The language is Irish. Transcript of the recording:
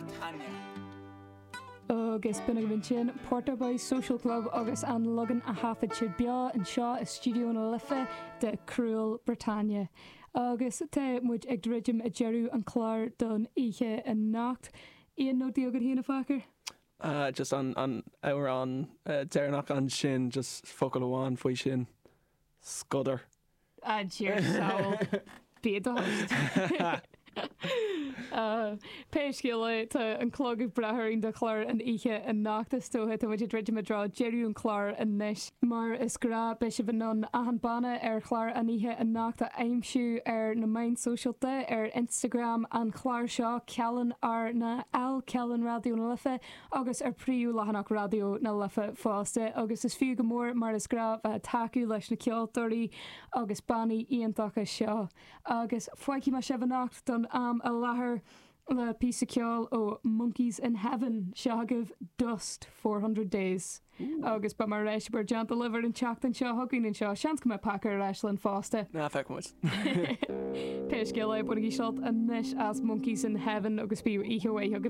Briotáine. Agus b'in agaibh ansin Porta Boys Social Club agus an leagan a thaifead siad beo anseo i Stiúideo na Life de Cruel Bretagne. Agus tá muid ag druidim i deireadh an chláir don oíche anocht. Aon nótaí agat féin, a Phacair? Just an amhrán deireanach ansin, just focal amháin faoi sin, scuder. A Dhia sábháil, bí i do thost. Pé scéal é, tá an clog ag breith orainn do chlár an oíche anocht is dócha. Tá muid ag druidim i dtreo deireadh an chláir anois. Mar is gnáth, beidh sibh in ann achan banna ar chlár an oíche anocht a aimsiú ar na meáin sóisialta, ar Instagram an chláir seo, Cealann RnaL, Cealann Raidió na Life, agus ar príomhleathanach Raidió na Life fosta. Agus is fiú go mór, mar is gnáth, bheith ag tacú leis na ceoltóirí agus bannaí iontacha seo. Agus fágfaidh mé sibh anocht don am i láthair le píosa ceoil ó Monkeys in Heaven. Seo agaibh Dust 400 Days. Agus beidh mé ar ais i bhur dteannta libh ar an tseachtain seo chugainn anseo. Seans go mbeidh Paca ar ais linn fosta. Ná feicfidh muid. Pé scéal é, bainigí sult anois as Monkeys in Heaven agus bíodh oíche mhaith agaibh.